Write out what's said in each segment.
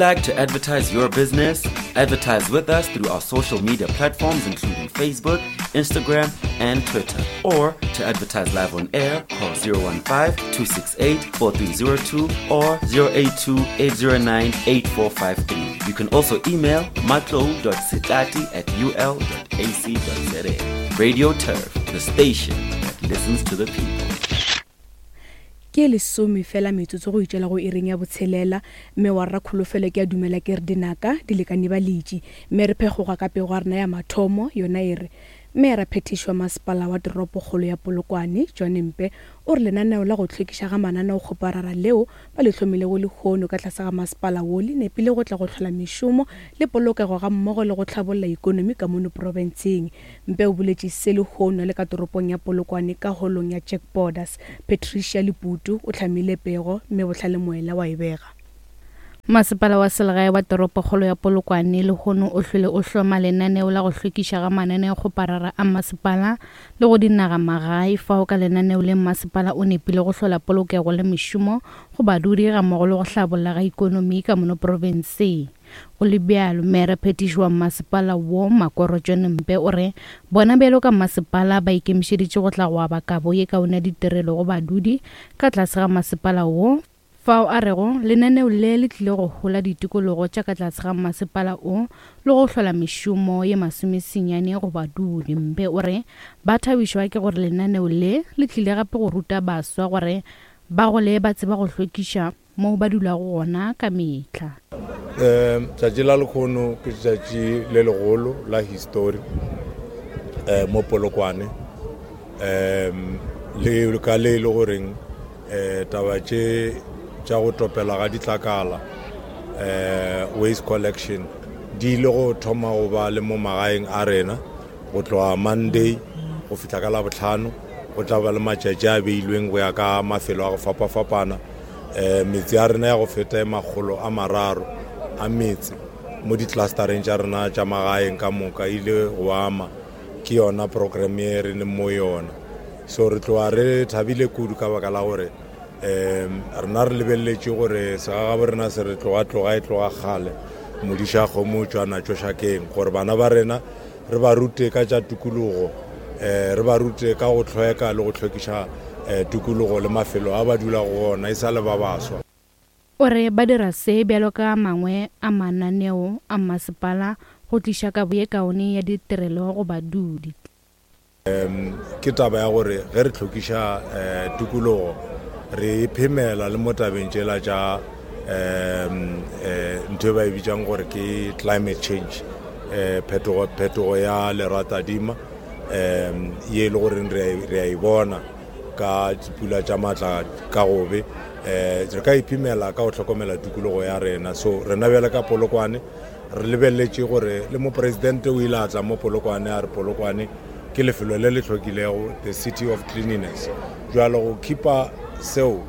Like to advertise your business? Advertise with us through our social media platforms, including Facebook, Instagram, and Twitter. Or to advertise live on air, call 015 268 4302 or 082 809 8453. You can also email matlo.sitati at ul.ac.za. Radio Turf, the station that listens to the people. Ke lesome fela metsotso go itšwela go iring ya botshelela, mme wa rra Kholofelo ke a dumela ke re dinaka di lekane baletši. Mme re phekgoga ka pego ya rena ya mathomo, yona e re, Meyara phethiši wa masepala wa toropokgolo ya Polokwane, John Mpe, o re lenaneo la go hlwekiša ga mananeokgoparara leo ba le hlomilego lehono ka tlase ga masepala wo le nepile go tla go hlola mešomo le polokego gammogo le go hlabolla ikonomi ka mono profenseng. Mpe o boletše se lehono a le ka toropong ya Polokwane ka holong ya Jack Borders. Patricia Leputu o hlamile pego mme Bohlale Moela wa e bega. Masepala wa selegae wa toropokgolo ya Polokwane lehono o hlwele o hloma lenaneo la go hlwekiša ga mananeokgoparara a masepala le go dinagamagae fao ka lenaneo le masepala o nepile go hlola polokego le mešomo go badudi gammogo le go hlabolla ga ikonomi ka mono profenseng. Go le bjalo, Meyara Phetiši wa masepala wo, Makoro John Mpe o re bona bjalo ka masepala ba ikemišeditše go tla go aba kabo ye kaone ya ditirelo go badudi ka tlase ga masepala wo, fao a rego lenaneo le le tlile go hola ditikologo tša ka tlase ga masepala wo le go hlola mešomo ye masomesenyane go badudi. Mpe o re ba thabišwa ke gore lenaneo le le tlile gape go ruta baswa gore ba gole ba tseba go hlwekiša moo ba dulago gona ka mehla. Um tšatši la lekgono ke tšatši le legolo la histori um mo Polokwane um le ka le e le goreng um taba tše tša go topela ga ditlakala um waste collection di ile go thoma go ba le mo magaeng a rena go tloga Monday go fihla ka Labohlano. Go tla ba le matšatši a beilweng go ya ka mafelo a go fapafapana. Um metse ya rena ya go feta e 300 a metse mo di-clustereng tša rena tša magaeng ka moka ile go ama ke yona program ye re leng mo yona. So re tloga re thabile kudu ka baka la gore um rena re lebeleletše gore segagabo rena se re tloga tloga e tloga kgale modiša kgomo o tšwa natšo šakeng gore bana ba rena re ba rute ka tša tikologo, um re ba rute ka go hlweka le go hlwekiša um tikologo le mafelo a ba dulago go ona e sa le ba baswa. O re ba dira se bjalo ka a mangwe a mananeo a mmasepala go tliša kabo ye kaone ya ditirelo go badudi. Ke taba ya gore ge re hlwekiša tikologo re e phemela le mo tabeng tšela tša ntho e ba e bitsang gore ke climate change, phetogo phetogo ya leratadima ye e le goreng re a e bona ka dipula tša maatla ka gobe. Re ka iphemela ka go hlokomela tikologo ya rena. So rena bjale ka Polokwane Re lebeletše gore le mopresidente o ile a tla mo Polokwane a re Polokwane ke lefelo le le hlwekilego, the city of cleanliness. Bjalo go khipa seo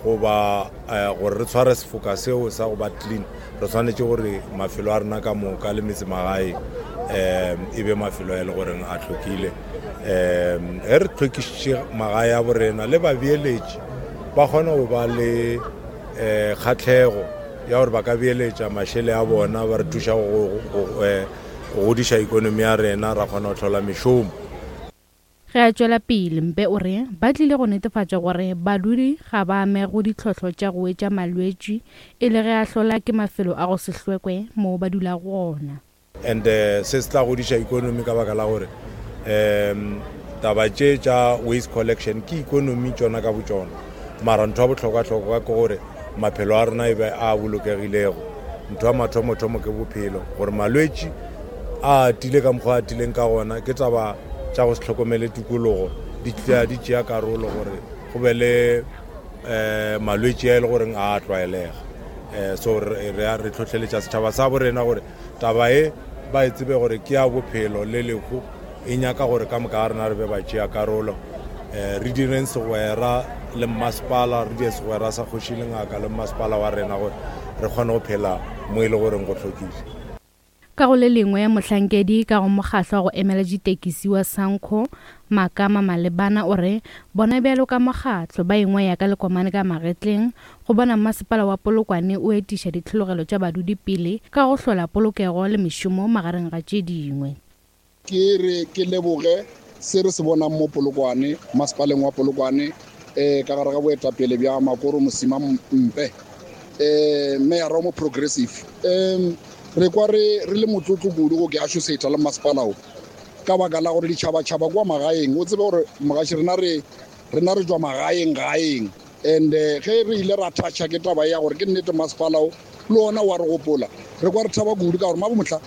goba eh, gore re tshware sefoka seo sa go ba clean, re swanetše gore mafelo a rena ka moka le metsemagae um e be mafelo a e le goreng a hlwekile. Um ge re hlwekišitše magae a borena le babeeletši ba kgona go ba le um kgahlego ya gore ba ka beeletša mašele a bona ba re thuša go eh, godiša ikonomi ya rena ra kgona go hlola mešomo. Ge a tšwela pele, Mpe o re ba tlile go netefatša gore badudi ga ba amege go ditlhohlo tša go wetša malwetši e le ge a hlola ke mafelo a go se hlwekwe moo ba dulago gona. And se se tla godiša ikonomi ka baka la gore um taba tše tša waste collection ke ikonomi tšona ka botšona. Mara ntho ya bohlokwa-hlokwa ke gore maphelo a rena e be a bolokegilego. Ntho ya mathomo-thomo ke bophelo, gore malwetši a atile ka mokgwa a atileng ka gona ke taba tša go se hlokomele tikologo di tla di tšea karolo gore go be le um malwetši a e le goreng a tlwaelega. Um so re re hlohleletša setšhaba sa borena gore Taba ye ba e tsebe gore ke ya bophelo le lehu, e nyaka gore ka moka ga rena re be batšeakarolo. Re direng segwera le mmasepala, re dire segwera sa kgoši le ngaka le mmasepala wa rena gore re kgone go phela mo e le goreng go hlwekile. Ka go le lengwe, mohlankedi ka go mokgahlo wa go emela ditekisi wa Sanco, Makama Malebana o re bona bjalo ka mokgahlo ba ingwaya ka lekomane ka magetleng go bona masepala wa Polokwane o etiša ditlhologelo tša badudi pele ka go hlola polokego le mešomo magareng ga tše dingwe. Ke re ke leboge se re se bonang mo Polokwane, masepaleng wa Polokwane, um ka gare ga boetapele bja Makoro Mosima Mpe, um meyara o mo progressive. Um re kwa re re le motlotlo kudu go ke associate le masepala o ka baka la gore ditšhabatšhaba kwa magaeng o tsebe gore mogaši rena re rena re tšwa magaeng gaeng and eh, ge re ile ra thatšha ke taba ya gore ke nnete masepala o le ona wa re gopola re kwa re thaba kudu ka gore mabomohla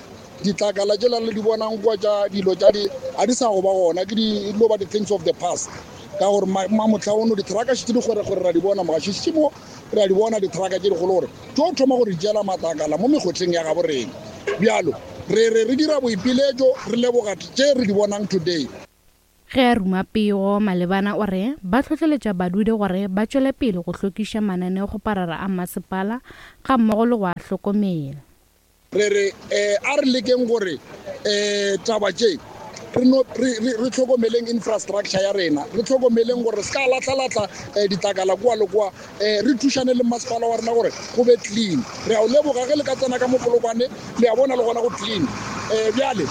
ditlakala tšela le di bonang kwa tša dilo tša di a di sa go ba gona ke di lo ba di-things of the past ka gore mamotlha ono dithraka šetse di gore gore ra di bona mogaši mo re a di bona dithraka tše dikgolo gore tšo thoma go re tšeela matlakala mo mekgotleng ya gabo rena bjalo re re re dira boipiletšo re leboga tše re di bonang today. Ge a ruma pego, Malebana o re ba hlohleletša badudi gore ba tšwele pele go hlwekiša mananeokgoparara a masepala gammogo le go a hlokomela. Re re a re lekeng gore taba tše re no re re hlokomeleng infrastructure ya rena, re hlokomeleng gore re se ka lahla-lahla ditlakala kua le kua, re thušane le masepala wa rena gore go be clean. Re a o leboga ge le ka tsena ka mo Polokwane, le a bona le gona go clean. Bjale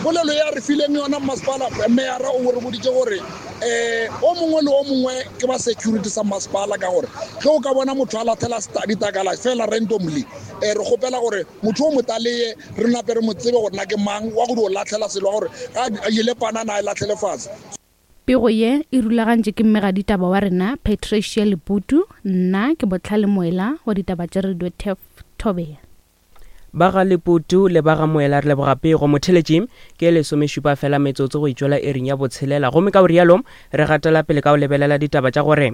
polelo ya re fileng yona masepala, meyara o re boditše gore o mongwe le o mongwe ke ba security sa masepala, ka gore ge o ka bona motho a lathela ditlakala fela randomly, Re kgopela gore motho o motaleye re nape re mo tsebe gore na ke mang wa go dio lahlela selo wa gore ga a jele panana a e lahlele fase. Pego ye e rulagantšwe ke mmegaditaba wa rena Patricia Leputu, nna ke Bohlale Moela wa ditaba tša Radio Turf Thobela. Ba ga Leputu le ba ga Moela re leboga pego. Motheletši ke lesomešupa fela metsotso go itšwela iring ya botshelela gomme ka go rialo re gatela pele ka go lebelela ditaba tša gore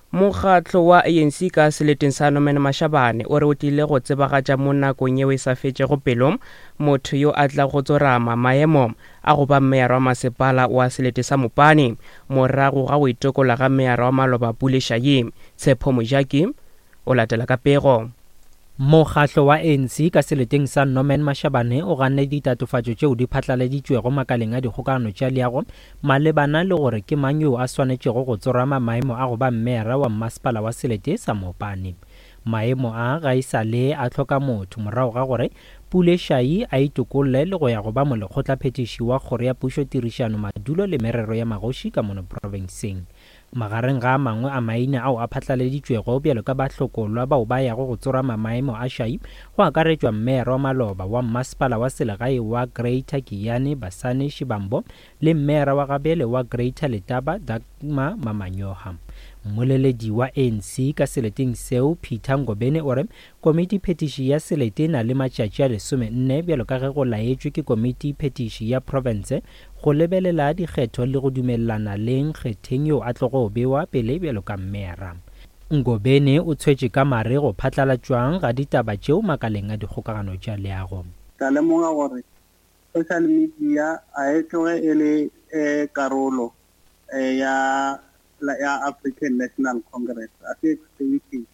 Mokgatlo wa ANC ka seleteng sa Norman Mashabane o re o tlile go tsebagatša mo nakong yeo e sa fetšego pelo motho yo a tlago go tsorama maemo a go ba meyara wa masepala wa selete sa Mopani morago ga go itokola ga meyara wa maloba Pule Shayi. Tshepo Mojaki o latela ka pego. Mokgatlo wa ANC ka seleteng sa Norman Mashabane o ganne ditatofatšo tšeo di phatlaladitšwego makaleng a dikgokagano tša leago malebana le gore ke mang yoo a swanetšego go tsorama maemo a go ba mmeyara wa mmasepala wa selete sa Mopani. Maemo a ga e sa le a hloka motho morago ga gore Pule Shayi a itokolle le go ya go ba molekgotlaphethiši wa Kgoro ya Pušo Tirišano Madulo le Merero ya Magoši ka mono profenseng. Magareng ga a mangwe a maina ao a phatlaladitšwego bjalo ka bahlokolwa bao ba yago go tsorama maemo a šai go akaretšwa Mmeyara wa maloba wa Mmasepala wa Selegae wa Greater Giyani Basani Shibambo le Mmeyara wa gabjale wa Greater Letaba Dagmar Mamanyoha. Mmoleledi wa ANC ka seleteng seo Peter Ngobeni o re Komiti Phetiši ya Selete e na le matšatši a lesomenne bjalo ka ge go laetšwe ke Komiti Phetiši ya Profense go lebelela dikgetho le go dumelelana le nkgetheng yo a tlogo bewa pele bjalo ka mmera. Ngobeni o tshwetše ka mare go phatlalatšwang ga ditaba tšeo makaleng a dikgokagano tša leago. Ka lemoga gore social media a e tloge e le karolo ya ya African National Congress, a se extension.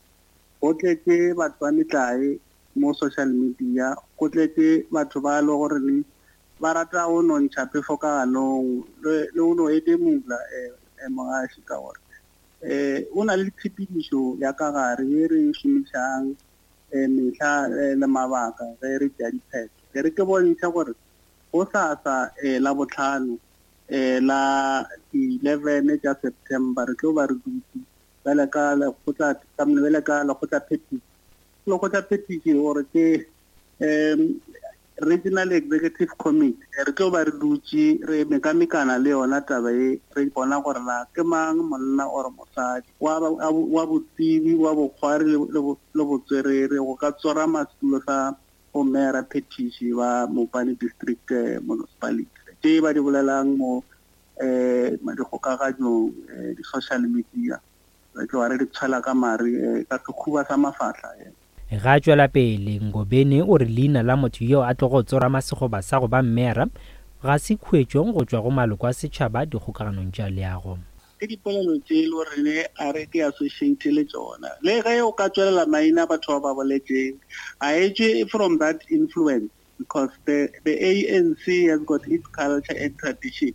Go tletše batho ba metlae mo social media, go tletše batho ba e le gore ba rata go no ntšha phefo ka ganong le go no edemula mogaši ka gore o na le tshepedišo ya ka gare ye re e šomišang mehla le mabaka ge re tšea diphetho. E re ke bontšhe gore go sasa Labohlano la di-11 tša September re tlo ba re dutše bjale ka lekgotla bjale ka lekgotlaphethiši. Lekgotlaphethiši gore ke um Regional Executive Committee re tlo ba re dutše re mekamekana le yona taba e re bona gore na ke mang monna or mosadi wa wa botsebi wa bokgwari le botswerere go ka tsorama setulo sa bomeyara phethiši ba Mopani District eh, Municipality tše ba di bolelang mo um dikgokaganyong eh, di-social media re tloga re di tshwela ka mare eh, ka sekhuba sa mafahla eh. Ge a tšwela pele, Ngobeni o re leina la motho yo a tlogo tsorama sekgoba sa go ba mmeyara ga se khuetšong go tšwa go maloko a setšhaba dikgokaganong tša leago. Ke dipolelo tše e le gore a re ke associate le tšona. Le ge o ka tšwelela maina a batho ba ba boletšeng, ga e tšwe from that influence. Because the, the ANC has got its culture and tradition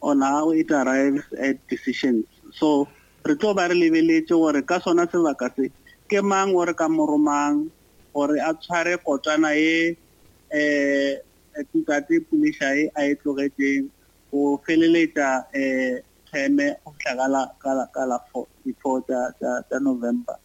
on how it arrives at decisions. So re tlo ba re lebeletše gore ka sona sebaka se ke mang o re ka mo romang gore a tshware kotwana ye um ntate Puleshae a e tlogetšeng go feleletša um terme go fihla ka la ka la ka la di-four tša November.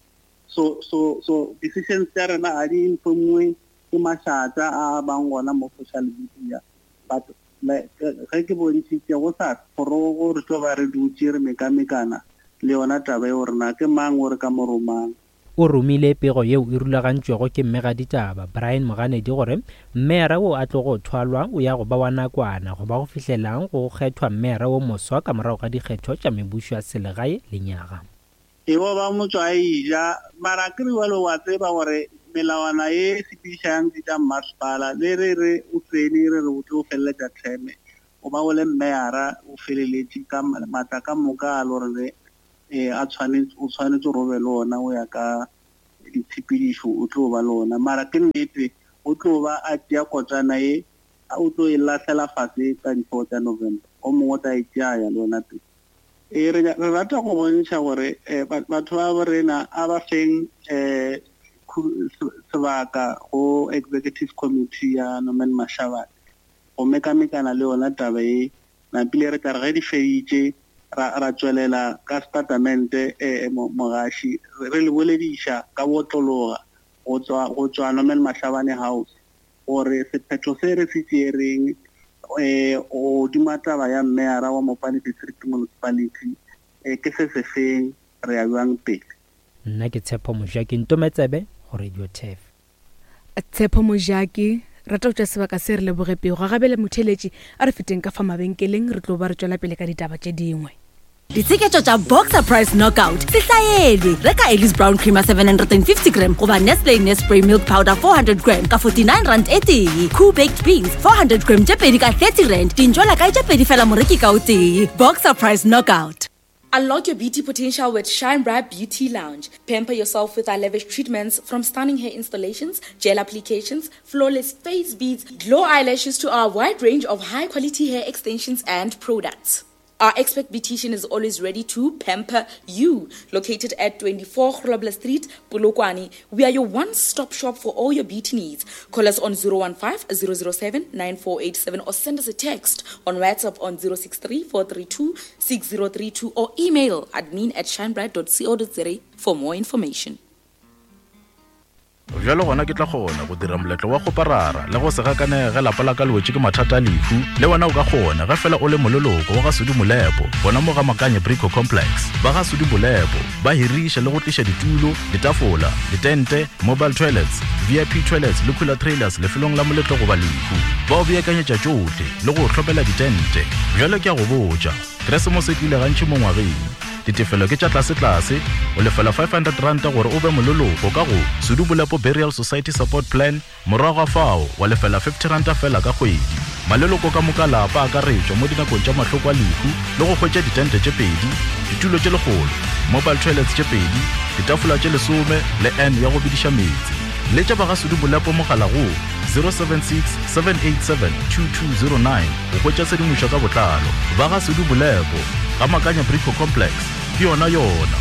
So so so decisions tša rena ga di informiwe ke mašata a a bang gona mo social media but ge ke bontšhitše go sa kgorogo re tlo ba re dutše re mekamekana le yona taba eo gore na ke mang o re ka mo romang. O romile pego yeo e rulagantšwego ke mmegaditaba, Brian Moganedi gore mmeyara wo a tlogo thwalwa o ya go ba wa nakwana go ba go fihlela go kgethwa mmeyara wo moswa ka morago ga dikgetho tša mebušo ya selegae lenyaga. E bo ba motšwa a eja. Mara akere bjalo wa tseba gore melawana ye e sepedišang di tša mmasepala le re re o tsene re re o tlo feleletša term o ba o le mmeyara o feleletše ka matla ka moka a le gore re a tshwanetse o tshwanetse gore o be le ona o ya ka ditshepedišo o tlo ba le ona. Mara ke nnete o tlo ba a tšea kotsana ye o tlo e lahlela fase ka di 4 tša November o mongwe o tla e tšea ya le yona pele. Ee, re, re rata go bontšha gore eh, batho ba bo rena a ba feng eh, sebaka go executive committee ya Norman Mashabane go mekamekana le yona taba e napile re tla re ge di feditše ra, ra tšwelela ka setatamente eh, mogaši re le bolediša ka botlologa go tswa go tswa Norman Mashabane House gore sephetho se re se tšeereng um godima taba ya mmeyara wa Mopani District Municipality um ke se se feng, re ya bjang pele. Nna ke Tshepo Mojaki Ntometsebe go Radio Turf. Tshepo Mojaki, Rata go tšea sebaka se re leboge pego. Ga bjale motheeletši, a re feteng ka fa mabenkeleng re tlo ba re tšwela pele ka ditaba tše dingwe. Ditsheketšo tša Boxer Price Knockout se hlaelwe. Reka Ellis Brown Creamer 750 gram goba Nestle Nespray Milk Powder 400 gram ka 49 rand e tee. Cool Baked Beans 400 gram tše pedi ka 30 rand. Dintšwela kae tše pedi fela moreki ka o tee. Boxer Price Knockout. Unlock your beauty potential with Shine Bright Beauty Lounge. Pamper yourself with our lavish treatments from stunning hair installations, gel applications, flawless face beads, glow eyelashes to our wide range of high quality hair extensions and products. Our expert beautician is always ready to pamper you. Located at 24 Grobler Street, Polokwane, we are your one-stop shop for all your beauty needs. Call us on 015 007 9487 or send us a text on WhatsApp on 063 432 6032 or email admin at shinebright.co.za for more information. Bjalo gona ke tla kgona go dira moletlo wa kgoparara le go se gakanege ge lapa la ka le wetše ke mathata a lehu. Le wena o ka kgona ge fela o le moleloko wa ga Sudi Molepo gona mo ga Makanye Brico Complex. Ba ga Sudi Molepo ba hiriša le go tliša ditulo, ditafola, ditente, mobile toilets, VIP toilets le cooler trailers lefelong la moletlo goba lehu. Ba o beakanyetša tšohle le go o hlomela ditente. Bjalo ke a go botša, Keresemose e tlile gantši mo ngwageng. Ditefelo ke tša tlasetlase, o lefela R500 gore o be moleloko ka go Sudu Bolepo Burial Society Support Plan, morago ga fao wa lefela R50 feela ka kgwedi. Maleloko ka moka lapa a akaretšwa mo dinakong tša mahloko a lehu le go hwetša ditente tše pedi, ditulo tše lekgolo, mobile toilets tše pedi, ditafola tše lesome le urn ya go bediša meetse. Letša ba ga Sudu Bolepo mogala go 076 787 2209 go hwetša tshedimošo ka botlalo. Ba ga Sudu Bolepo, ga Makanya Brico Complex, ke yona yona.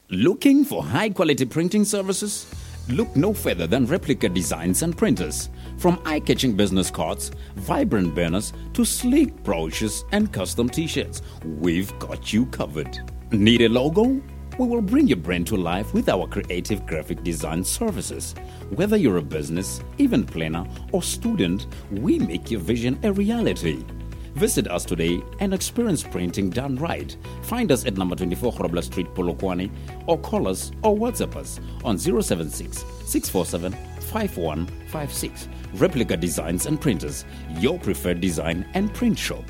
Looking for high quality printing services? Look no further than Replica Designs and Printers. From eye catching business cards, vibrant banners, to sleek brochures and custom t shirts, we've got you covered. Need a logo? We will bring your brand to life with our creative graphic design services. Whether you're a business, event planner, or student, we make your vision a reality. Visit us today and experience printing done right. Find us at number 24 Grobler Street, Polokwane, or call us or WhatsApp us on 076 647 5156. Replica Designs and Printers, your preferred design and print shop.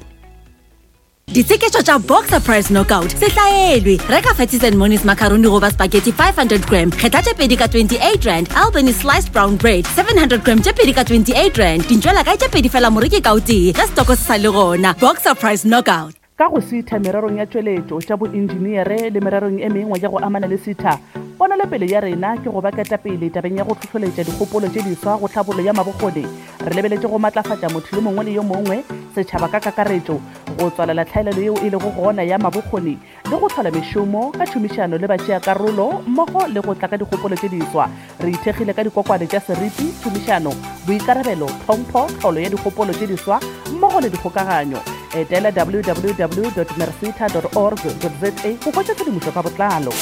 Ditsheketšo tša Boxer Price Knockout se hlaelwe. Reka Fatties and Monies macaroni goba spaghetti 500 gram, kgetha tše pedi ka 28 rand, Albany sliced brown bread 700 gram tše pedi ka 28 rand, dintšwela kae tše pedi fela moreki ka o tee ge setoko se sa le gona. Boxer Price Knockout. Ka go sitha mererong ya tšweletšo, tša boinjiniere le mererong e mengwe ya go amana le sitha, ponelopele ya rena ke go ba ketapele tabeng ya go hlohloletša dikgopolo tše diswa go tlhabollo ya mabokgoni. Re lebeletše go matlafatša motho yo mongwe le yo mongwe, setšhaba ka kakaretšo, go tswalela tlhaelelo yeo e lego gona ya mabokgoni le go hlola mešomo ka tšhomišano le batšeakarolo mmogo le go tla ka dikgopolo tše diswa. Re ithekgile ka dikokwane tša seriti, tšhomišano, boikarabelo, tlhompho, tlholo ya dikgopolo tše diswa mmogo le dikgokaganyo. Etela www.mercita org za go hwetša tshedimošo ka botlalo.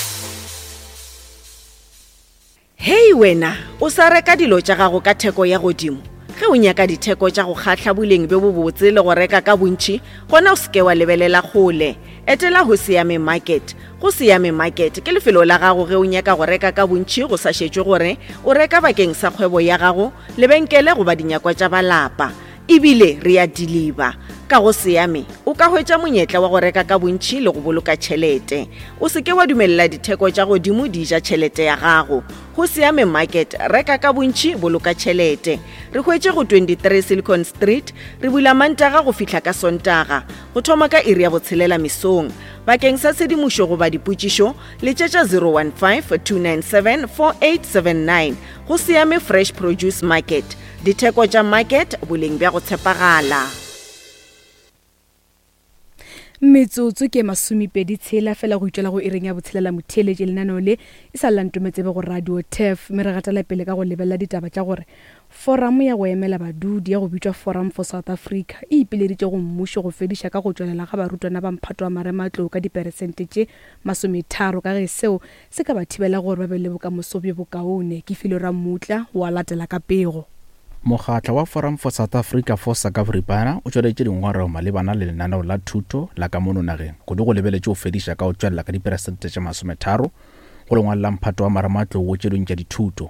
Hei wena, o sa reka dilo tša gago ka theko ya godimo? Ge o nyaka ditheko tša go kgahla boleng bjo bobotse le go reka ka bontši, gona o se ke wa lebelela kgole. Etela Hosiame Market. Go Siame Market ke lefelo la gago ge o nyaka go reka ka bontši go sa šetšwe gore o reka bakeng sa kgwebo ya gago, lebenkele goba dinyakwa tša ba lapa. E bile re a diliba. Ka go Siame, o ka hwetša monyetla wa go reka ka bontši le go boloka tšhelete. O se ke wa dumelela ditheko tša godimo di ja tšhelete ya gago. Go Siame Market, reka ka bontši, boloka tšhelete. Re hwetše go 23 Silicon Street, re bula Mantaga go fihla ka Sontaga, go thoma ka iri ya botshelela mesong. Bakeng sa tshedimošo goba dipotšišo, letšetša 015 297 4879. Go Siame Fresh Produce Market. Ditheko tša market, boleng bja go tshepagala. Metsotso ke masomepedi tshela fela go itšwela go iring ya botshelela motheeletši lenaneo le e sa lla ntometsebe go radio tef mme re gatela pele ka go lebelela ditaba tša gore foramo ya go emela badudi ya go bitšwa Forum for South Africa e ipileditše go mmušo go fediša ka go tšwelela ga barutwana ba mphato wa marematlou ka diperesente tše masometharo ka ge seo Se ka ba thibela gore ba be le bokamoso bjo bokaone. Ke Filwe Rammutla o a latela ka pego. Mokgatlo wa Forum for South Africa FOSA ka boripana o tšweleditše dingongorego malebana le lenaneo la thuto la ka mono nageng, kudu go lebeletše go fediša ka go tšwelela ka diperesente tše masometharo go lengwalo la mphato wa marematlou go tše dingwe tša dithuto.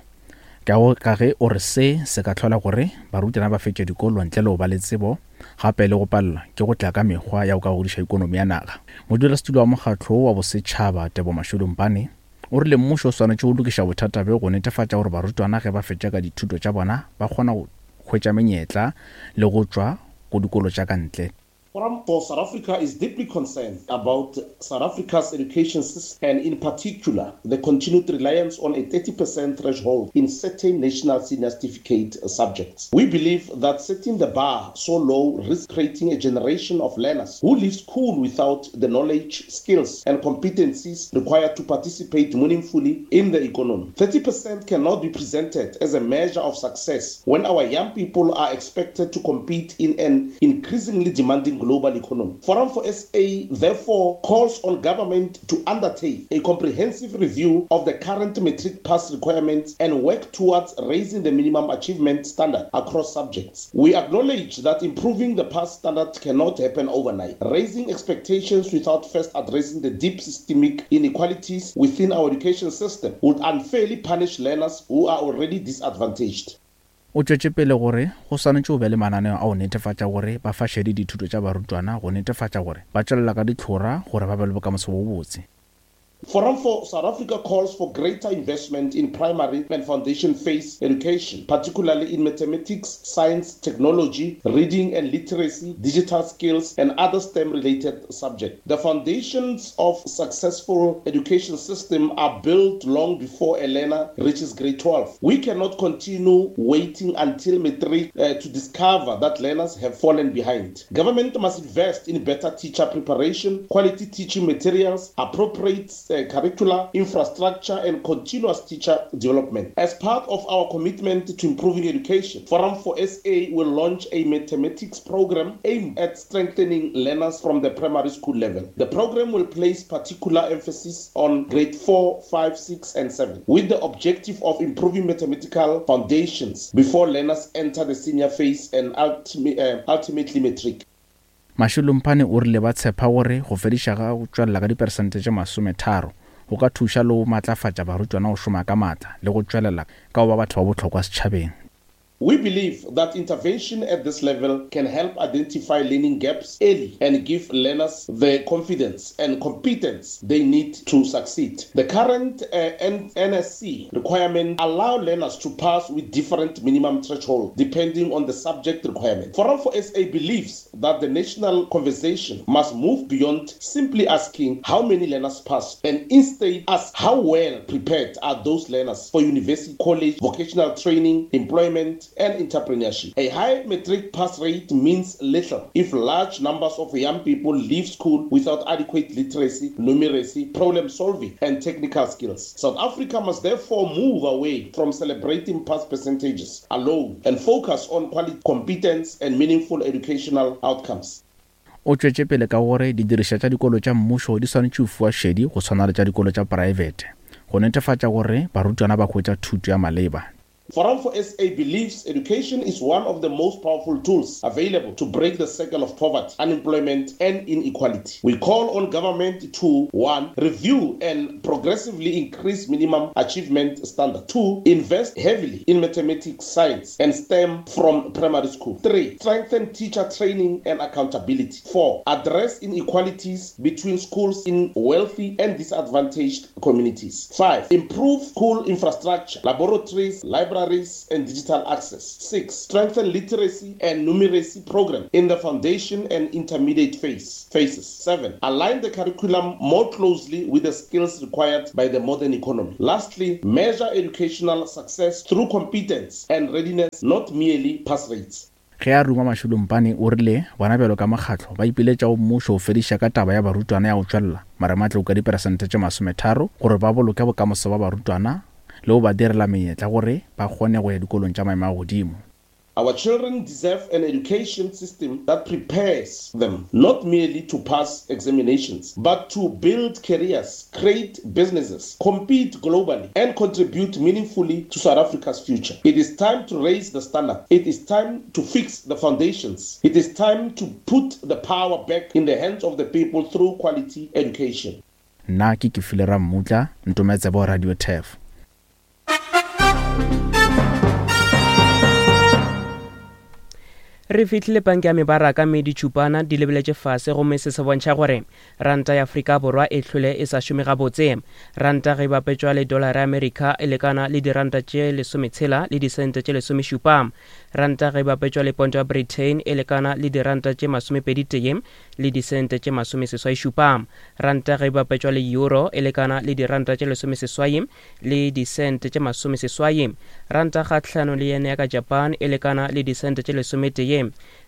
Ka go ka ge o re se se ka hlola gore barutwana ba fetše dikolo ntle le go ba le tsebo gape le go palelwa ke go tla ka mekgwa ya go ka godiša ikonomi ya naga. Modulasetulo wa mokgatlo wo wa bosetšhaba Tebo Mashudu Mpane o rile mmušo o swanetše go lokiša bothata bjo go netefatša gore barutwana ge ba fetša ka dithuto tša bona ba kgona go hwetša menyetla le go tšwa go dikolo tša ka ntle. Forum for South Africa is deeply concerned about South Africa's education system and in particular the continued reliance on a 30% threshold in certain national senior certificate subjects. We believe that setting the bar so low risks creating a generation of learners who leave school without the knowledge, skills and competencies required to participate meaningfully in the economy. 30% cannot be presented as a measure of success when our young people are expected to compete in an increasingly demanding global economy. Forum for SA therefore calls on government to undertake a comprehensive review of the current matric pass requirements and work towards raising the minimum achievement standard across subjects. We acknowledge that improving the pass standard cannot happen overnight. Raising expectations without first addressing the deep systemic inequalities within our education system would unfairly punish learners who are already disadvantaged. O tšwetše pele gore go swanetše go be le mananeo a go netefatša gore ba fa šedi dithuto tša barutwana go netefatša gore ba tšwelela ka ditlhora gore ba be le bokamoso bo bobotse. Forum for South Africa calls for greater investment in primary and foundation phase education, particularly in mathematics, science, technology, reading and literacy, digital skills, and other STEM-related subjects. The foundations of successful education system are built long before a learner reaches grade 12. We cannot continue waiting until matric uh, to discover that learners have fallen behind. Government must invest in better teacher preparation, quality teaching materials, appropriate uh, curricular infrastructure, and continuous teacher development. As part of our commitment to improving education, Forum for SA will launch a mathematics program aimed at strengthening learners from the primary school level. The program will place particular emphasis on grade 4, 5, 6, and 7, with the objective of improving mathematical foundations before learners enter the senior phase and ulti uh, ultimately matric. Mashilo-Mphane o rile ba tshepa gore go fediša ga go tšwelela ka diperesente tše masometharo go ka thuša le go matlafatša barutwana go šoma ka maatla le go tšwelela ka go ba batho ba bohlokwa setšhabeng. We believe that intervention at this level can help identify learning gaps early and give learners the confidence and competence they need to succeed. The current uh, NSC requirement allow learners to pass with different minimum threshold depending on the subject requirement. Forum for SA believes that the national conversation must move beyond simply asking how many learners pass and instead ask how well prepared are those learners for university, college, vocational training, employment employment and entrepreneurship. A high matric pass rate means little if large numbers of young people leave school without adequate literacy, numeracy, problem solving, and technical skills. South Africa must therefore move away from celebrating pass percentages alone and focus on quality, competence, and meaningful educational outcomes. O tšwetše pele ka gore didirišwa tša dikolo tša mmušo di swanetše go fiwa šedi go swana le tša dikolo tša praebete go netefatša gore barutwana ba hwetša thuto ya maleba. Forum for SA believes education is one of the most powerful tools available to break the cycle of poverty, unemployment and inequality. We call on government to 1. Review and progressively increase minimum achievement standard. 2. Invest heavily in mathematics, science and STEM from primary school. 3. Strengthen teacher training and accountability. 4. Address inequalities between schools in wealthy and disadvantaged communities. 5. Improve school infrastructure, laboratories, libraries, and digital access. 6. Strengthen literacy and numeracy program in the foundation and intermediate phase, phases. 7. Align the curriculum more closely with the skills required by the modern economy. Lastly, measure educational success through competence and readiness, not merely pass rates. Ge a ruma Mashilo-Mpane o rile bona bjalo ka mokgatlo ba ipiletša go mmušo go fediša ka taba ya barutwana ya go tšwelela marematlou ka diperesente tše 30 gore ba boloke bokamoso ba barutwana le go ba direla menyetla gore ba kgone go ya dikolong tša maemo a godimo. Our children deserve an education system that prepares them not merely to pass examinations, but to build careers, create businesses, compete globally, and contribute meaningfully to South Africa's future. It is time to raise the standard. It is time to fix the foundations. It is time to put the power back in the hands of the people through quality education. Nna ke Kefile Rammutla, Ntometsebo Radio Turf. Re fihlile panke ya mebaraka mme ditšhupana di lebeletše fase gomme se se bontšha gore ranta ya Afrika Borwa e hlwele e sa šome gabotse. Ranta ge e bapetšwa le dolara ya Amerika e lekana le diranta tše lesometshela le disente tše lesomešupa. Ranta ge e bapetšwa le ponto ya Britain e lekana le diranta tše masomepeditee le disente tše masomeseswaišupa. Ranta ge e bapetšwa le euro e lekana le diranta tše lesomeseswai le disente tše masomeseswai. Ranta kgahlano le yen ya ka Japan e lekana le disente tše lesometee.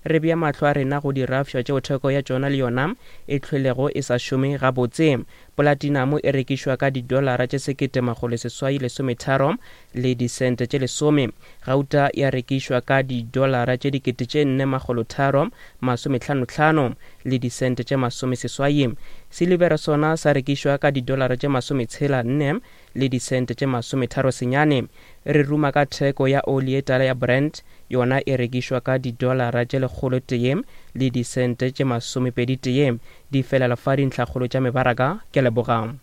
Re bea mahlo a rena go dirafša tšeo theko ya tšona le yona e hlwelego e sa šome gabotse. Polatinamo e rekišwa ka didolara tše 1813 le disente tše lesome. Gauta ya rekišwa ka didolara tše 4355 le disente tše masomeseswai. Silibere sona sa rekišwa ka didolara tše masometshela nne le disente tše masometharo senyane. Re ruma ka theko ya oli ye tala ya Brent, yona e rekišwa ka didolara tše 101 le disente tše masomepeditee. Di felela fa dintlhakgolo tša mebaraka. Ke a leboga.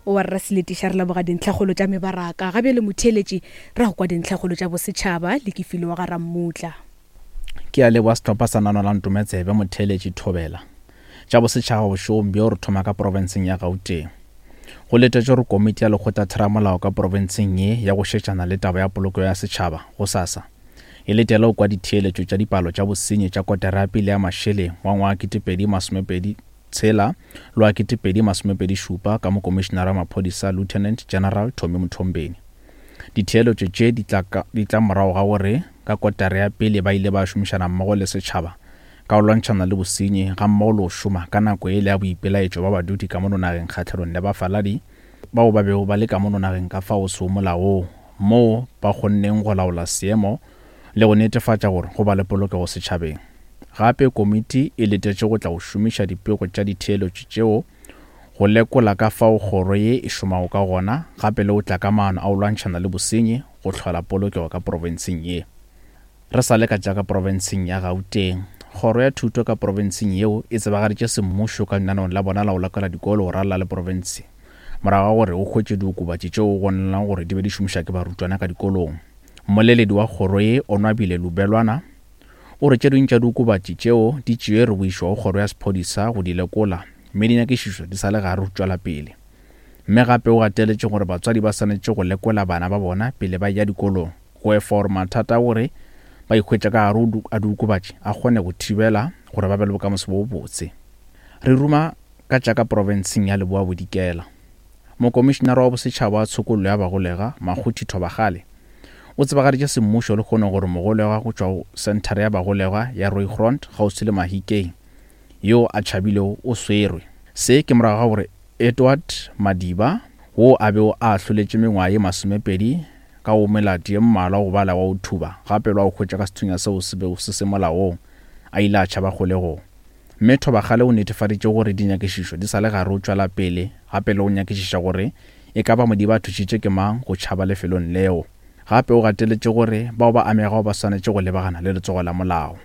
Wa rra Seletiša, re leboga dintlhakgolo tša mebaraka. Ga bjale motheeletši, ra go kwa dintlhakgolo tša bosetšhaba le Kefile wa ga Rammutla. Ke a leboga sehlopha sa Nano la Ntometsebe motheeletši Thobela. Tša bosetšhaba bošegong bjo re thoma ka profenseng ya Gauteng. Go letetšwe gore komiti ya lekgotlatheramolao ka profenseng ye ya go šetšana le taba ya polokego ya setšhaba gosasa e letele go kwa ditheeletšo tša dipalo tša bosenyi tša kotara ya pele ya mašeleng wa ngwaga 2026 le wa 2027 ka Mokomišenara wa Maphodisa Lieutenant General Tommy Mthombeni. Ditheeletšo tše di tla di tla morago ga gore ka kotara ya pele ba ile ba šomišana mmogo le setšhaba ka go lwantšhana le bosenyi gammogo le go šoma ka nako yela ya boipelaetšo ba badudi ka mono nageng kgahlanong le bafaladi bao ba bego ba le ka mono nageng ka fao sego molaong moo ba kgonneng go laola seemo le go netefatša gore go ba le polokego setšhabeng. Gape komiti e letetše go tla go šomiša dipego tša ditheeletšo tšeo go lekola ka fao kgoro ye e šomago ka gona gape le go tla ka maano a go lwantšhana le bosenyi go hlola polokego ka profenseng ye. Re sa le ka tša ka profenseng ya Gauteng, Kgoro ya Thuto ka profenseng yeo e tsebagaditše semmušo ka lenaneong la bona la go lekola dikolo go ralala le profense morago ga gore go hwetšwe diokobatši tšeo go bonalang gore di be di šomišwa ke barutwana ka dikolong. Mmoleledi wa kgoro ye, Onwabile Lubelwana, o re tše dingwe tša diokobatši tšeo di tšeerwe go išwa go kgoro ya sephodisa go di lekola mme dinyakišišo di sa le gare go tšwela pele. Mme gape o gateletše gore batswadi ba swanetše go lekola bana ba bona pele ba eya dikolong go efa gore mathata a gore ba ikhwetša ka gare a diokobatši a kgone go thibela gore ba be le bokamoso bo bobotse. Re ruma ka tša ka profenseng ya Leboa Bodikela. Mokomišinara wa Bosetšhaba wa Tshokollo ya Bagolegwa, Makgothi Thobakgale, o tsebagaditše semmušo lehono gore mogolegwa go tšwa go Senthara ya Bagolegwa ya Rooigrond kgauswi le Mahikeng yo a tšhabilego o swerwe. Se ke morago ga gore Edward Madiba, wo a bego a ahloletšwe mengwaga ye masomepedi ka go melato ye mmalwa go bala wa go thuba gape le wa go hwetša ka sethunya seo se bego se se molaong, a ile a tšhaba kgolegong. Mme Thobakgale o netefaditše gore dinyakišišo di sa le gare o tšwela pele gape le go nyakišiša gore e ka ba Modiba a thušitše ke mang go tšhaba lefelong leo. Gape o gateletše gore bao ba amegago ba swanetše go lebagana le letsogo la molao.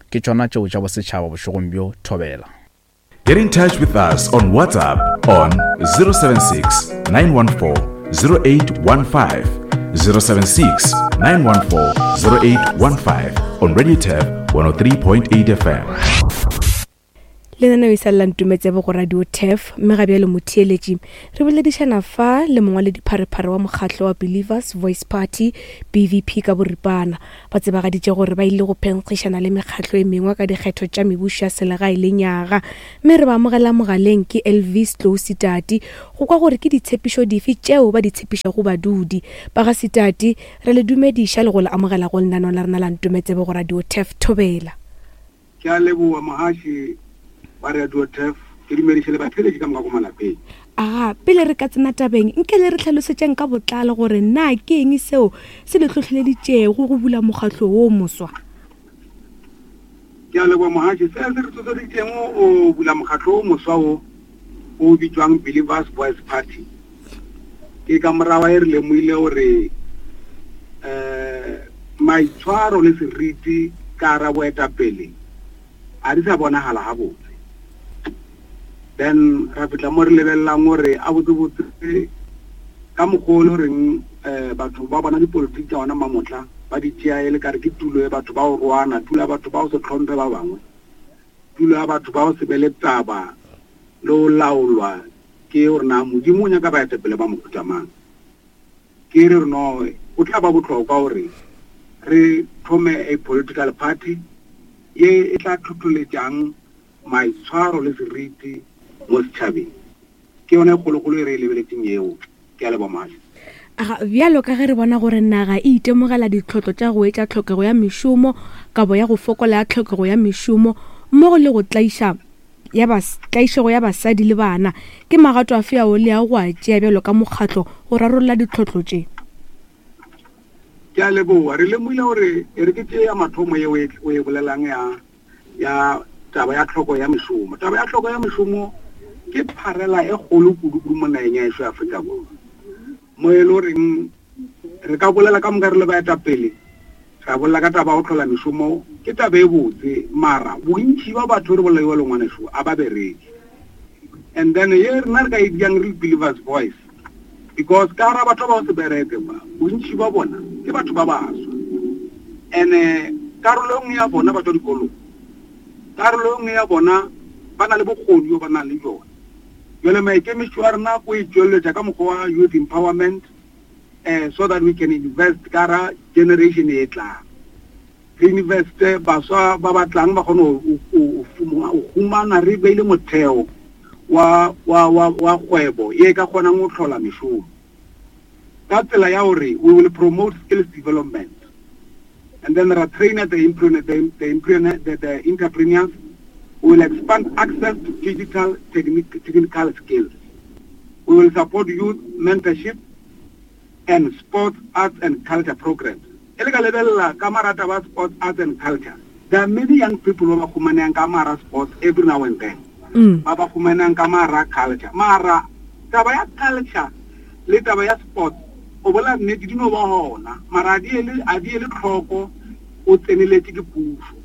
Ke tšona tšeo tša bosetšhaba bošegong bjo, Thobela. Get in touch with us on WhatsApp on 076 914 0815. 076 914 0815 on Radio Tab 103.8 FM. Lenaneo e sa lela ntumetsebo go Radio Turf mme ga bjale motheeletši re boledišana fa le mongwaledipharephare wa mokgatlo wa Believers Voice Party BVP ka boripana. Ba tsebagaditše gore ba ile go phenkgišana le mekgatlo e mengwe ka dikgetho tša mebušo ya selegae le nyaga. Mme re ba amogela mogaleng ke Elvis Tlou Sitati go kwa gore ke ditshepišo dife tšeo ba di tshepišago badudi. Ba ga Sitati, re le dumediša le go le amogela go lenaneo la rena la Ntometsebe go Radio Turf Thobela. Ke a leboga mohaši wa Radio Turf, ke dumediše le batheeletši ka moka ko malapeng. Aga, pele re ka tsena tabeng, nke le re hlalosetšeng ka botlalo gore na ke eng seo se le hlohleleditšego go bula mokgatlo wo moswa? Ke a leboga mohaši, se se re hlohleleditšego go bula mokgatlo wo moswa wo o bitšwang Believers Voice Party ke ka morago e re lemogile gore um maitshwaro le seriti ka ra boetapele a di sa bonagala gabotse. Then ra fihla mo re lebelelang gore a botsebotse ka mokgwa o le goreng um batho ba bona dipolotiki tša gona mamotla ba di tšea e le kare ke tulo ya batho ba go roana, tulo ya batho ba go se hlomphe ba bangwe, tulo ya batho ba go se be le taba le go laolwa ke gore na Modimo o nyaka baetapele ba mohuta mang. Ke re no o tla ba bohlokwa gore re thome a political party ye e tla tlhohloletšang maitshwaro le seriti mo setšhabeng. Ke yona e kgolokgolo e re e lebeletšeng yeo. Ke a leboga Mohaši. Aga, bjalo ka ge re bona gore naga e itemogela ditlhotlo tša go etša tlhokego ya mešomo, kabo ya go fokola ya tlhokego ya mešomo, mmogo le go tlaiša ya bas, tlaišego ya basadi le bana, ke magato afe ao le yago go a tšea bjalo ka mokgatlo go rarolla ditlhotlo tše? Ke a leboga. Re lemogile gore e re ke tšee ya mathomo ye o e, o e bolelang ya ya taba ya tlhoko ya mešomo. Taba ya tlhoko ya mešomo ke pharela e kgolo kudu-kudu mo nageng ya ešo ya Afrika Borwa, mo e le goreng re ka bolela ka moka re le baetapele, ra bolela ka taba ya go hlola mešomo, ke taba e botse, mara bontši ba batho re bolela jalo ngwanešu a ba bereke. And then ye rena re ka e diang re le Believers Voice, because ka gara batho ba ba se bereke ba, bontši ba bona ke batho ba baswa. And-e karolo e nngwe ya bona ba tšwa dikolong, karolo e nngwe ya bona ba na le bokgoni bjo ba nang le bjona. Jwale maikemišetšo a rena ko e tšweletša ka mokgwa wa youth empowerment, eh, so that we can invest ka gara generation e tlang. Re investe baswa ba ba tlang ba kgone go humana re beile motheo wa, wa, wa, wa kgwebo ye e ka kgonang go hlola mešomo ka tsela ya gore we will promote skills development and then ra trainer the, the, the, the, the entrepreneurs. We will expand access to digital technical skills. We will support youth mentorship and sports, arts and culture programs. E le ka lebelela ka mara taba sports, arts and culture, there are many young people ba ba humanehang ka mara sports every now and then. Ba ba humanehang ka mara culture. Mara taba ya culture le taba ya sports, o bolela nnete, di no ba gona, mara a di ele, a di ele tlhoko o tseneletše ke pušo.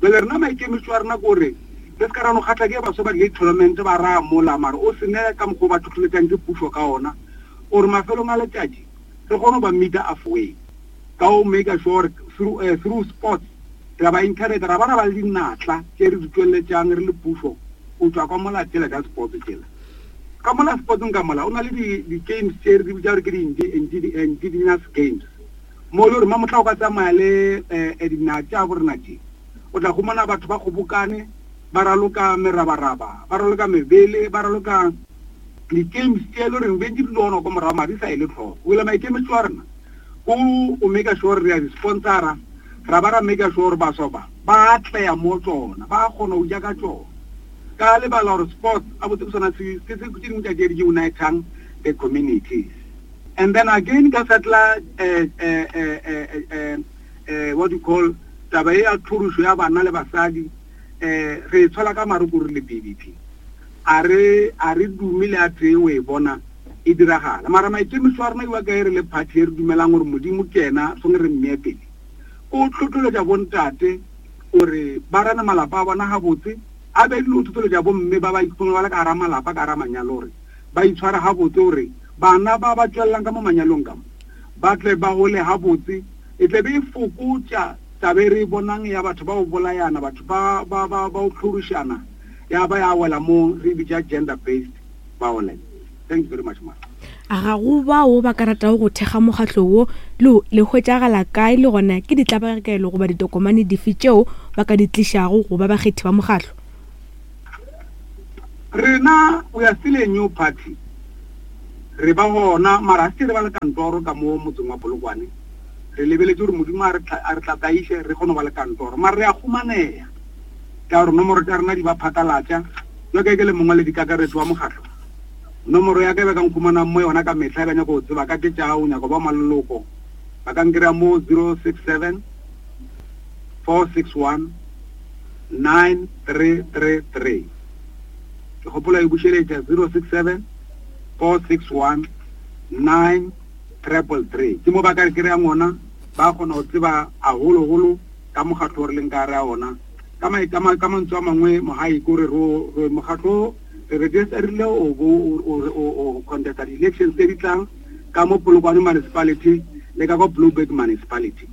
Bjale rena maikemišetšo a rena ke gore re se ka ra no kgatla ke baswa ba di tournament ba raya mola, mara o se ne ka mokgwa o ba tlhohleletšang ke pušo ka ona, gore mafelong a letšatši re kgone go ba meeta halfway ka go make sure gore through sports ra ba encourage, ra ba ra ba le dinatla tše re di tšweletšang re le pušo go tšwa ka mola tšela tša sports tšela. Ka mola sportsng ka mola o na le di-games tše re di bitša gore ke di-indigenous games, mo e le gore mamohla o ka tsamaya le dinaga tša borena tše, o tla humana batho ba kgobokane ba raloka merabaraba, ba raloka mebele, ba raloka. Di-games tše e le goreng bentše di le gona ko morago mara di sa ele tlhoko. Wela maikemišetšo a rena ko o make sure re a di sponsora ra ba ra make sure gore baswa ba ba atleya mo tsona ba kgona go ja ka tsona. Ka lebala gore sports a botse ke sona se ke se tše dingwe tša tše di unitang the communities. And then again ka setla eh, eh, eh, eh, eh, eh, what you call taba e ya tlhorišo ya bana le basadi eh re e tshola ka marukuru le BDP. A re, a re dume le a tee o e bona e diragala. Mara maikemišo a rena iwa kae re le party e re dumelang gore Modimo ke yena swange re mmee pele. Ke o tlhotlholetša bontate gore ba rane malapa a bona gabotse, a be le o tlhotlholetša bomme ba ba ikhumana ba le ka gara malapa, ka gara manyalo gore ba itshware gabotse gore bana ba ba tšwelelang ka mo manyalong ka mo ba tle ba gole gabotse. E tle be e fokotša taba e re e bonang ya batho ba go bolayana, batho ba, ba, ba, ba go hlorišana. ya ba ya wela mo re bitša gender based violence. Thank you very much ma. A ga go bao ba ka ratago go thekga mokgatlo wo le le hwetšagala kae le gona ke ditlabakelo goba ditokomane dife tšeo ba ka di tlišago go ba bakgethi ba mokgatlo? Rena we are still a new party, re ba gona mara ga se re ba le kantoro ka mo motseng wa Polokwane. Re lebeletše gore Modimo a re tlataiše re kgone go ba le kantoro mara re a humaneya. Ka gore nomoro tša rena di ba phatlalatša. Bjalo ka ge ke le mongwaledikakaretšo wa mokgatlo, nomoro ya ka e ba ka nkhumanang mo yona ka mehla e ba nyaka go tseba ka ke tša o nyaka go ba maloloko, ba ka nkry-a mo 067 461 9333. Ke gopola e bušeletša 067 461 9333. Ke mo ba ka re kry-ang gona, ba kgona go tseba haholo-holo ka mokgatlo o re leng ka gare ga ona. Ka ma, ka ma, ka mantswe a mangwe, Mohai, ke gore ro, re mokgatlo re registerile o bo o, o, o contesta di-elections tse di tlang ka mo Polokwane Municipality le ka kwa Blouberg Municipality.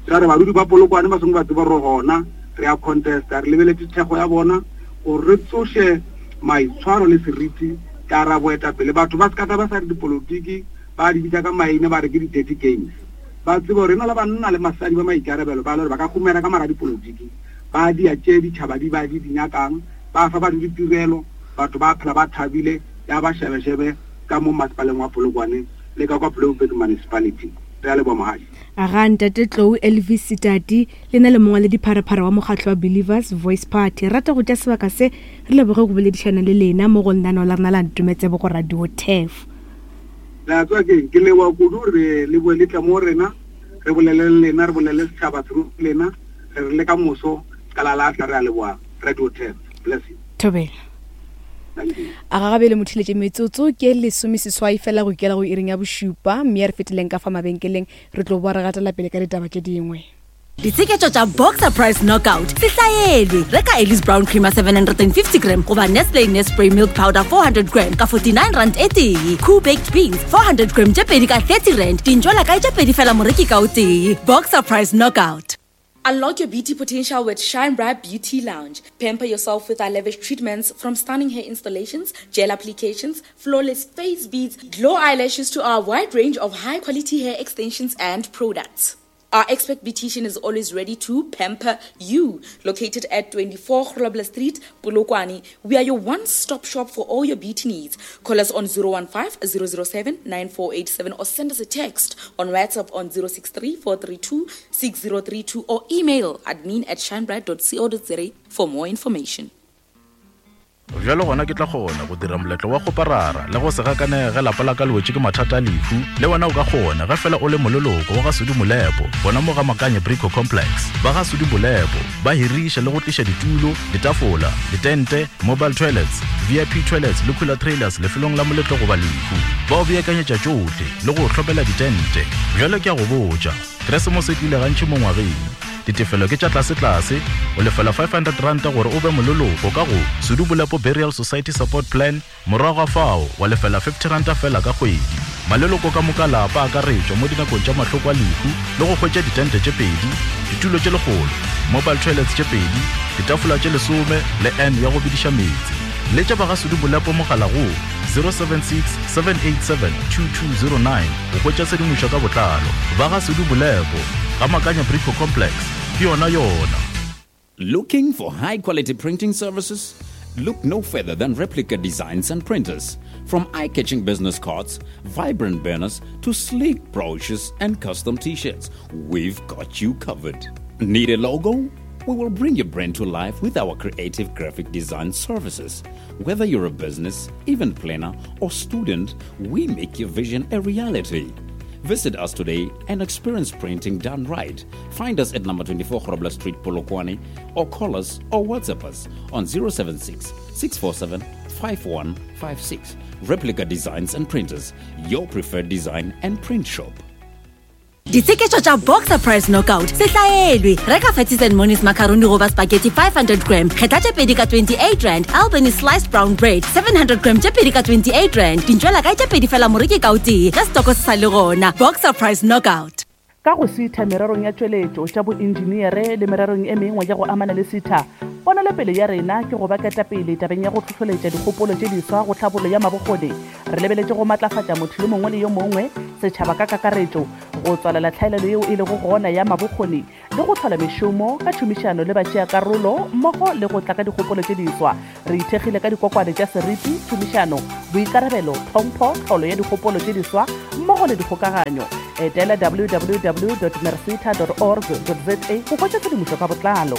Ra re badudi ba Polokwane ba swanetše ba tseba gore gona re a contesta, re lebeletše thekgo ya bona gore re tsoše maitshwaro le seriti ka ra boetapele. Batho ba se ka tla ba sa re dipolotiki ba di bitša ka maina ba re ke di-dirty games. Ba tsebe gore e na le banna le masadi ba maikarabelo ba le gore ba ka humela ka mara dipolotiki, ba dia tše ditšhaba di ba di di nyakang, ba fa batho ditirelo, batho ba phela ba thabile, ya ba šebešebe ka mo masepaleng wa Polokwane le ka kwa Blouberg Municipality. Re a leboha Mohaši. Aga Ntate Tlou Elvis Sitati, le na le mongwaledipharephare wa mokgatlo wa Believers Voice Party. Re rata go tšea sebaka se re leboge go boledišana le lena mo go lenaneo la rena la Ntometsebo go Radio Turf. Le a tseba ke'ng? Ke leboga kudu gore le boe le tle mo go rena, re bolele le lena, re bolele setšhaba through lena. Re re le ka moso, ka la lahla. Re a leboga, Radio 10. Bless you. Thobela. Thank you. A ga gabele motheletše metsotso ke lesomeseswai fela go ikela go iring ya bošupa mme ya re feteleng ka fa mabenkeleng re tlo boa re gatela pele ka ditaba tše dingwe. Ditsheketšo tša Boxer Price Knockout se hlaelwe. Reka Ellis Brown Creamer 750 gram goba Nestle Nespray Milk Powder 400 gram ka 49 rand e tee. Cool Baked Beans 400 gram tše pedi ka 30 rand. Dintšwela kae tše pedi fela moreki ka o tee. Boxer Price Knockout. Unlock your beauty potential with Shine Bright Beauty Lounge. Pamper yourself with our lavish treatments from stunning hair installations, gel applications, flawless face beads, glow eyelashes to our wide range of high quality hair extensions and products. Our expert beautician is always ready to pamper you. Located at 24 Grobler Street, Polokwane, we are your one-stop shop for all your beauty needs. Call us on 015 007 9487 or send us a text on WhatsApp on 063 432 6032 or email admin at shinebright.co.za for more information. Bjalo gona ke tla kgona go dira moletlo wa kgoparara le go se gakanege ge lapa la ka le wetše ke mathata a lehu. Le wena o ka kgona ge fela o le moleloko wa ga Sudi Molepo gona mo ga Makanye Brico Complex. Ba ga Sudi Molepo ba hiriša le go tliša ditulo, ditafola, ditente, mobile toilets, VIP toilets le cooler trailers lefelong la moletlo goba lehu. Ba o beakanyetša tšohle le go o hlopela ditente. Bjalo ke a go botša, Keresemose e tlile gantši mo ngwageng. Ditefelo ke tša tlasetlase, o lefela R500 gore o be moleloko ka go Sudu Bolepo Burial Society Support Plan, morago ga fao wa lefela R50 feela ka kgwedi. Maleloko ka moka lapa a akaretšwa mo dinakong tša mahloko a lehu le go hwetša ditente tše pedi, ditulo tše lekgolo, mobile toilets tše pedi, ditafola tše lesome le urn ya go bediša meetse. Letša ba ga Sudu Bolepo mogala go 076 787 2209 go hwetša tshedimošo ka botlalo. Ba ga Sudu Bolepo, ga Makanya Brico Complex, ke yona yona. Looking for high quality printing services? Look no further than Replica Designs and Printers. From eye catching business cards, vibrant banners, to sleek brochures and custom t shirts, we've got you covered. Need a logo? We will bring your brand to life with our creative graphic design services. Whether you're a business, event planner, or student, we make your vision a reality. Visit us today and experience printing done right. Find us at number 24 Grobler Street, Polokwane, or call us or WhatsApp us on 076 647 5156. Replica Designs and Printers, your preferred design and print shop. Ditsheketšo tša Boxer Price Knockout se hlaelwe. Reka Fatties and Monies macaroni goba spaghetti 500 gram, kgetha tše pedi ka 28 rand, Albany sliced brown bread 700 gram tše pedi ka 28 rand. Dintšwela kae tše pedi fela moreki ka o tee ge setoko se sa le gona. Boxer Price Knockout. Ka go sitha mererong ya tšweletšo, tša boentšeneere le mererong e mengwe ya go amana le sitha, ponelopele ya rena ke go ba ketapele tabeng ya go hlohloletša dikgopolo tše diswa go tlhabollo ya mabokgoni. Re lebeletše go matlafatša motho yo mongwe le yo mongwe, setšhaba ka kakaretšo, go tswalela tlhaelelo yeo e lego gona ya mabokgoni le go hlola mešomo ka tšhomišano le batšeakarolo mmogo le go tla ka dikgopolo tše diswa. Re ithekgile ka dikokwane tša seriti, tšhomišano, boikarabelo, tlhompho, tlholo ya dikgopolo tše diswa mmogo le dikgokaganyo. Etela www.mercita dot org dot za go hwetša tshedimošo ka botlalo.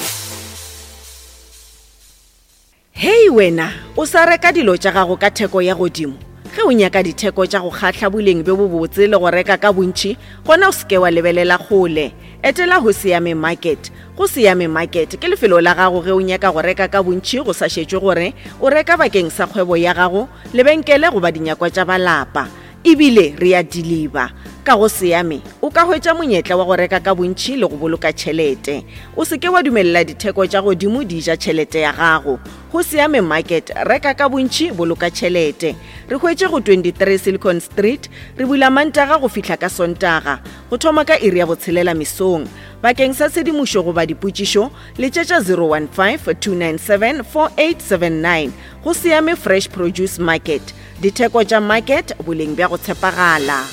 Hei wena, o sa reka dilo tša gago ka theko ya godimo? Ge o nyaka ditheko tša go kgahla boleng bjo bobotse le go reka ka bontši, gona o se ke wa lebelela kgole. Etela Hosiame Market. Go Siame Market ke lefelo la gago ge o nyaka go reka ka bontši go sa šetšwe gore o reka bakeng sa kgwebo ya gago, lebenkele goba dinyakwa tša ba lapa. E bile re a diliba. Ka go Siame o ka hwetša monyetla wa go reka ka bontši le go boloka tšhelete. O se ke wa dumelela ditheko tša godimo di ja tšhelete ya gago. Go Siame Market, reka ka bontši, boloka tšhelete. Re hwetše go 23 Silicon Street, re bula Mantaga go fihla ka Sontaga, go thoma ka iri ya botshelela mesong. Bakeng sa tshedimošo goba dipotšišo, letšetša 015 297 4879. Go Siame Fresh Produce Market, ditheko tša market, boleng bja go tshepagala.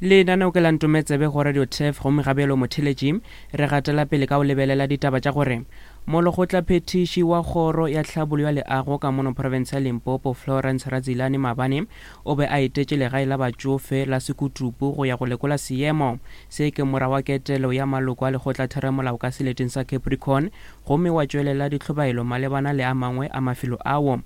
Lenaneo ke la Ntometsebe go Radio Turf gomme ga bjalo motheletši re gatela pele ka go lebelela ditaba tša gore Molekgotlaphethiši wa Kgoro ya Tlhabollo ya Leago ka mono profense ya Limpopo Florence Radzilani maabane o be a etetše legae la batšofe la Sekutupu go ya go lekola seemo. Se ke morago ga ketelo ya maloko a lekgotlatheramolao ka seleteng sa Capricorn gomme wa tšwelela dihlobaelo malebana le a mangwe a mafelo ao.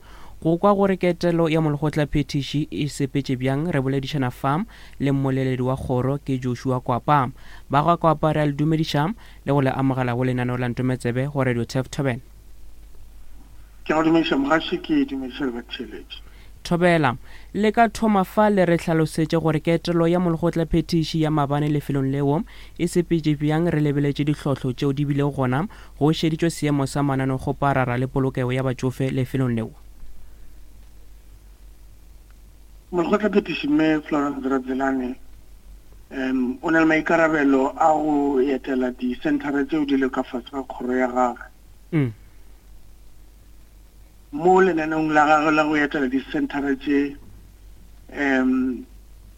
Go kwa gore ketelo ya molekgotlaphethiši e sepetše bjang, re boledišana fa le mmoleledi wa kgoro ke Joshua Kwapa. Ba ga Kwapa re a le dumediša le go le amogela go lenaneo la Ntometsebe go Radio Turf Thobela. Ke a go dumediša mogaši, ke dumediša le batheeletši. Thobela, Le ka thoma fa le re hlalosetše gore ketelo ya molekgotlaphethiši ya maabane lefelong leo e sepetše bjang re lebeletše dihlotlo tšeo di bilego gona go šeditšwe seemo sa mananekgoparara le polokego ya batšofe lefelong leo. Molekgotlaphethiši Mme Florence Radzilani um o na le maikarabelo a go etela disenthara tšeo di lego ka fase ga kgoro ya gagwe. Mm. Mo lenaneong la gagwe la go etela disenthara tše um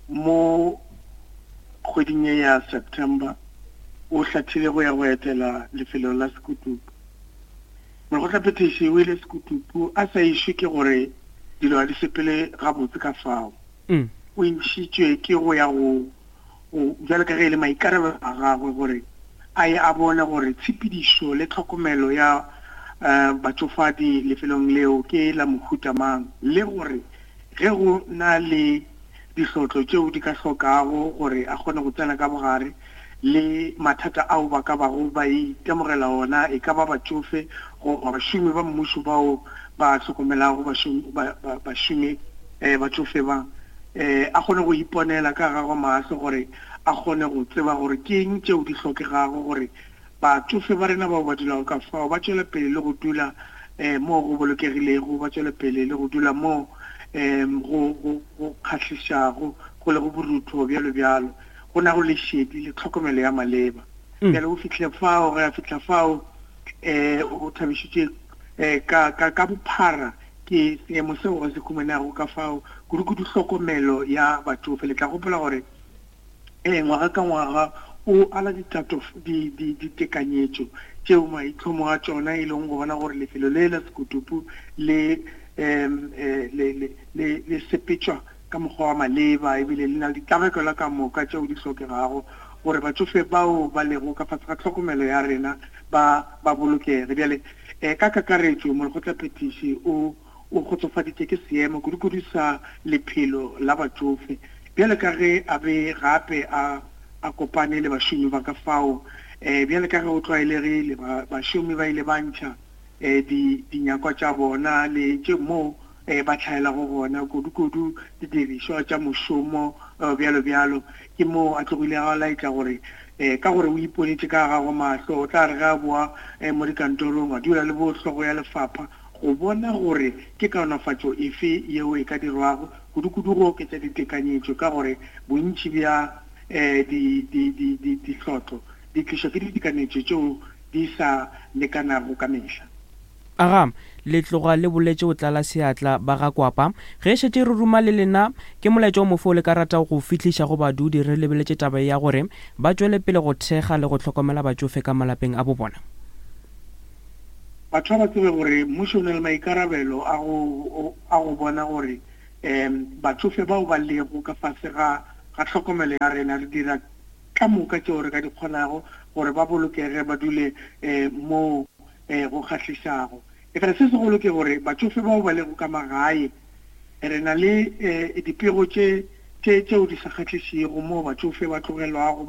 mo kgweding ye ya September, o hlathile go ya go etela lefelo la Sekutupu. Molekgotlaphethiši o ile Sekutupu a sa išwe ke gore dilo ga di sepele gabotse ka fao. Mm. O išitšwe ke go ya go go bjalo ka ge e le maikarabelo a gagwe gore a ye a bone gore tshepedišo le tlhokomelo ya um batšofadi lefelong leo ke la mohuta mang le gore ge go na le dihlotlo tšeo di ka hlokago gore a kgone go tsena ka bogare le mathata ao ba ka bago ba itemogela ona, e ka ba batšofe goba bašomi ba mmušo bao ba hlokomelago bašomi batšofe ba, a kgone go iponela ka gagwe mahlo gore a kgone go tseba gore ke eng tšeo di hlokegago gore Batšofe ba rena bao ba dulago ka fao ba tšwela pele le go dula moo go bolokegilego, ba tšwela pele le go dula moo go, go, go kgahlišago, go lego borutho, bjalo bjalo, go nago le šedi le tlhokomelo ya maleba. Bjale o fihlile fao, ge a fihla fao, um o thabišitšwe um ka, ka, ka bophara ke seemo seo a se humanego ka fao, kudu-kudu hlokomelo ya batšofe. Le tla gopola gore Ee, ngwaga ka ngwaga o ala ditato, di, di, ditekanyetšo tšeo maitlhomo a tšona e leng go bona gore lefelo le la Sekutupu le um le le le le sepetšwa ka mokgwa wa maleba ebile le na le ditlabakelo ka moka tšeo di hlokegago gore batšofe bao ba lego ka fase ga tlhokomelo ya rena ba ba bolokege. Bjale um ka kakaretšo molekgotlaphethiši o o kgotsofaditše ke seemo kudu-kudu sa lephelo la batšofe bjale ka ge a be gape a a kopane le bašomi ba ka fao. Um bjale ka ge go tlwaelegile ba bašomi ba ile ba ntšha um di dinyakwa tša bona le tše moo um ba hlaelago gona kudu-kudu didirišwa tša mošomo bjalo bjalo. Ke moo a tlogilego a laetša gore um ka gore o iponetše ka gagwe mahlo o tla re ge a boa um mo dikantorong a dula le bo hlogo ya lefapha go bona gore ke kaonafatšo efe yeo e ka dirwago, kudu-kudu go oketša ditekanyetšo ka gore bontši bja di, di, di, di, dihlotlo di tlišwa ke ditekanyetšo tšeo di sa lekanago ka mehla. Aga, le tloga le boletše o tlala seatla ba ga Kwapa. Ge e šetše re ruma le lena, ke molaetša o mofe o le ka ratago go o fihliša go badudi re lebeletše taba ye ya gore ba tšwele pele go thekga le go hlokomela batšofe ka malapeng a bo bona? Batho ba ba tsebe gore mmušo o na le maikarabelo a go a go bona gore um batšofe bao ba lego ka fase ga ga tlhokomelo ya rena re dira ka moka tšeo re ka di kgonago gore ba bolokege ba dule um moo um go kgahlišago. Efela se segolo ke gore batšofe bao ba lego ka magae re na le um dipego tše tše tšeo di sa kgahlišego moo batšofe ba tlogelwago.